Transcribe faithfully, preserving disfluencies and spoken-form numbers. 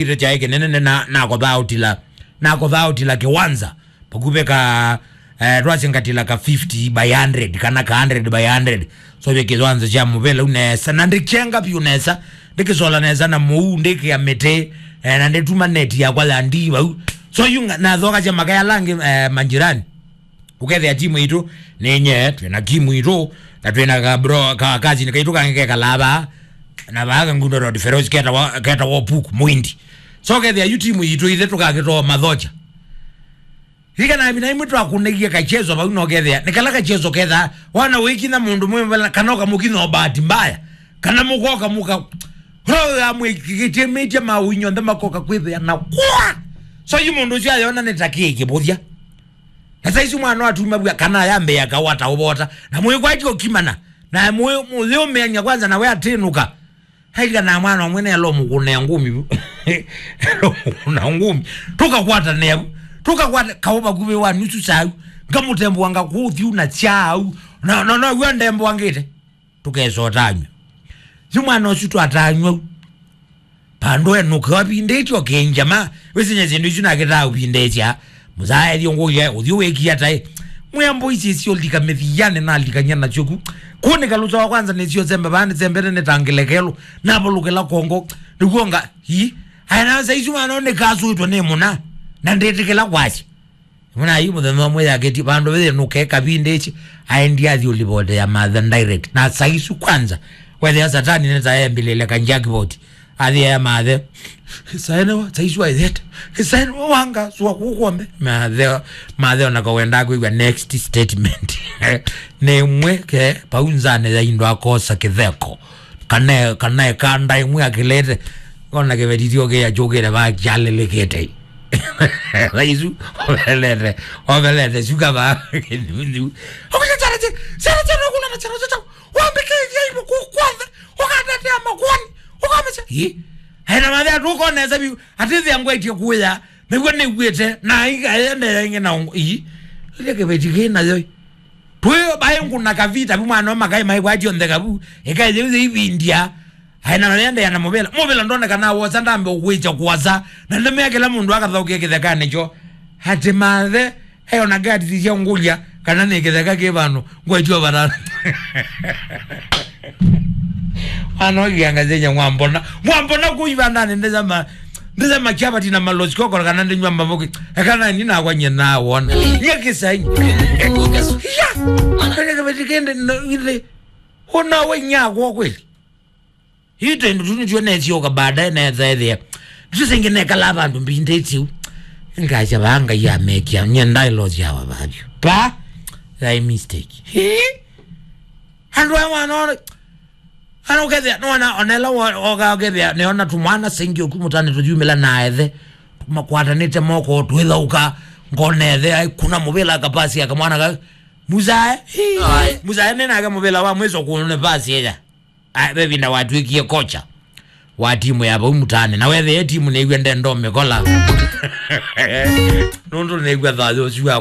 Ire kyaĩ kĩnene na, nakothaa ũtila, nakothaa ũtila kĩwanza. Pakuvĩ ka, eh, twasingatila ka fifty by hundred, kana ka hundred by hundred. So, vya kĩwanza kya mũvela ũu nesa, na ndĩkyenga vyũ nesa, ndĩkĩsola nesa na mũu, ndĩkĩa mĩtĩ, eh, na ndĩtuma neti yakwa ya ndii vau. So, yu nga-, nathoka kya makaya langi, eh, manjirani. Ũkethĩa timu itũ nĩ nye, twĩ na timu itũ, na twĩ na ka bro, ka, kazini kaitũ kangĩ kekalaa vaa, na vaa Kangundo Road, Feroz ketawa, ketawa Puku, Mwindi. So, ũkethĩa yu timu itũ ithe tũkakĩtoo mathocha. Rika na mina imwe twakunĩgie kachezo vau, no ũkethĩa, nĩ kala kachezo kethaa, wana wĩkinya mũndũ mwĩ mbele, kana ũkamũkinya o bahati mbaya, kana mũkoka mũka, roho ya mwĩkĩkĩtie mĩtia ma ũinyonthe makoka kwĩthĩa na kwa. So, yu mũndũ ũcio ayona nĩ ta kĩĩ kĩvũthya. Na saizi mwana watumavw'a kana ayambĩĩa kawata ũvota. Na mwĩkwatya ũkimana. Na mwĩ-, mũyũmĩany'a kwanza na we atĩnũka. Haika na mwana ũmwe nelo mũkũnea ngumi vu. Elo mũkũna ngumi. Tũkakwatanĩa vu. Tũkakwata kaũ vakuvĩ wa nusu saa u. Ngamũtembũanga kũthiu na chau. Na, na, na, w'a ndembũangĩte. Tũkesa ũtanywa. Yu mwana ũsu twatanywa u. Pandũ enũke wavindĩtye ũkĩnjama, wĩsinya syĩndũ isu nakĩtaa ũvindĩtya. Mũsaethyo ngũya, ũthiũ wĩkia taĩ. Mwĩa mbũi sisyo lika mĩthianĩ nalikany'a nasyo ku. Kũnĩka lũsa wa kwanza nĩsyo sembe vaa nĩsembete nĩtangĩlekelũ. Navalũkĩla kongo. Nĩkuonga, ii. Aya na saisu mwana nĩkasũĩtwe nĩ mũna. Na ndĩtĩkĩla kwasya. Mwana yu mũthenya ũmwe yakĩtie vandũ vĩthĩ nũke kavindĩtye, aendie athi ũlivote ya mathe direct. Na saisu kwanza, wethĩa satani nĩtaembilĩle ka jackpot. Athi ya mathe. Saene wa, saisu aithete. Saene wa wanga, sua kukombe. Mathe, mathe ona kawenda kwĩw'a next statement. Nĩ mwe ke, paunzane ya indo akosa kĩtheko. Kana, kana ekanda ĩmwe akĩlete, ona kĩveti tyo kĩya kyũkĩte vaa kyalĩlĩkĩte. Thaisu, ovelete, ovelete, syuka vaa kĩnyunyu. Okusya chara che, chara che, nokuna na chara che, wambĩkĩthya ivo kũkwatha, ũkatetea makuani, ũkamesya, ĩ? Aina mathe atũkonesa biu, atĩthĩa ngwaitie kuya, nĩw'o nĩw'ĩte, na aiga ende yaingĩ na ũngũ, ĩ? Ile kĩveti kĩ nayo, ĩ? Twĩ baĩ ngũna kavita vu mwana wa makai mai bwati onthe kavu. Ĩkaĩ yĩu yĩivindia. Aĩ na mayendeea na mũvĩla. Mũvĩla ndonekana wosa ndambe ũkwĩkya kwosa. Na ndemea kĩla mũndũ akathaũkie kĩthekanĩ kyo. Atĩ mathe, eona gati sya ngũlya, kana nĩ kĩtheka kĩ vandũ, ngwetio vatana. Mwana ũkianga zenye mwambona. Mwambona kũivandanĩ ndesema. Ndĩthema kyavati na malosi kokoro kana ndĩnywa mavoki. Ekana ni nakwa nye nawona. Nye kĩsai. Ya. Kanya kavati kende no ile. Ona we nyakwa kweli. Ito ndo tuni tuone sio ka baadaye na eza ethia. Tusengene kala vandu mbinde tiu. Ngacha vanga ya mekia. Nye ndai losi ya wavavyo. Pa. Thy mistake. He? Andũ aya mwana, ana ũkethĩa, nona, onela, oka ũkethĩa, nĩona tũmwana sengi ũku mũtane tũyumĩla na ethe, tũmakwatanĩte moko, twĩthaũka, ngona ethe, ai, kuna mũvĩla akapasi akamwana ka, Musae, Ai. Musae nĩnake mũvĩla wa mwiso kũne pasi eya. Ai, vevinda watwĩkie kocha wa timu ya vau mũtane. Na wethĩe timu nĩw'e ndendo mĩkola. Nũndũ nĩw'a thayũ ũsu wa